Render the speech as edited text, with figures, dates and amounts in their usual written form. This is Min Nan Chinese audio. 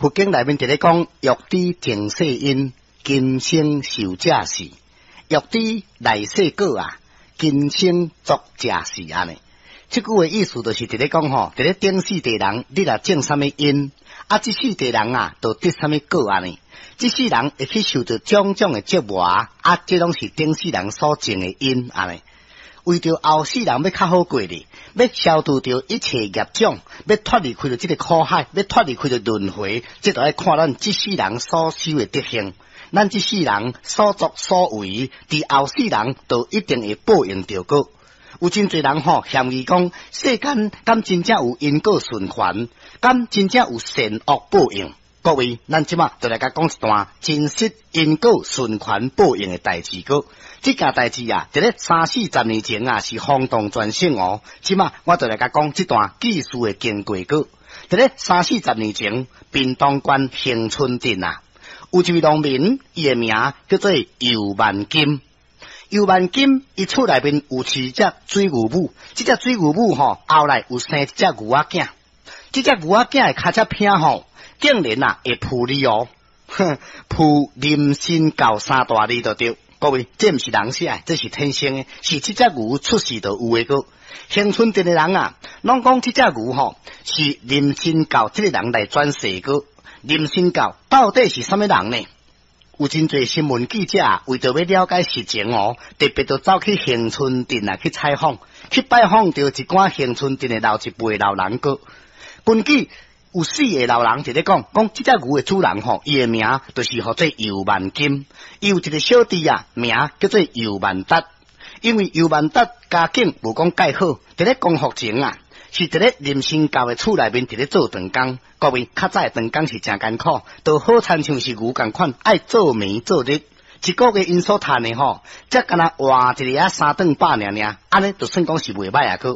佛經內面佇咧講，欲知前世因，今生受者是；欲知來世果啊，今生作者是按呢。這句話意思就是佇咧講吼，佇咧頂世地人，你若種啥物因，啊，這世地人啊，就得啥物果按呢。這世人會去受著種種的折磨，啊，這攏是頂世人所種的因按呢。為著後世人欲較好過咧，欲消除著一切業障，欲脫離開著這个苦海，欲脫離開著輪迴，這就愛看咱這世人所修的德行。咱這世人所作所為，佇後世人就一定會報應著果。有真濟人吼嫌疑講，世間敢真正有因果循環，敢真正有善惡報應？各位，咱這馬就來共講一段真實因果循環報應的代誌閣。這件代誌啊，佇咧三四十年前啊，是轟動全省哦。這馬我就來共講這段記事的經過閣。佇咧三四十年前，屏東縣恆春鎮啊，有一位農民，伊的名叫做游萬金。游萬金，伊厝內面有飼一隻水牛母，這隻水牛母吼，後來有生一隻牛仔囝。這隻牛仔囝的跤跡片吼，竟然啊會浮字哦，哼，浮林森教三大字就對。各位，這毋是人寫的，這是天生的，是這隻牛出世就有的閣。恆春鎮的人啊，攏講這隻牛吼是林森教這个人來轉世閣。林森教到底是啥物人呢？有真濟新聞記者為著欲了解實情哦，特別就走去恆春鎮啊去採訪，去拜訪著一寡恆春鎮的老一輩老人閣。根據有四个老人佇咧講，講這隻牛的主人吼，伊的名就是號做游萬金，伊有一个小弟啊，名叫做游萬達。因為游萬達家境無講蓋好，佇咧光復前啊，是佇咧林森教的厝內面佇咧做長工。各位較早的長工是誠艱苦，就好親像是牛仝款，愛做暝做日。一个月𪜶所趁的吼，才敢若換一个仔三頓飽爾爾，按呢就算講是袂䆀啊閣。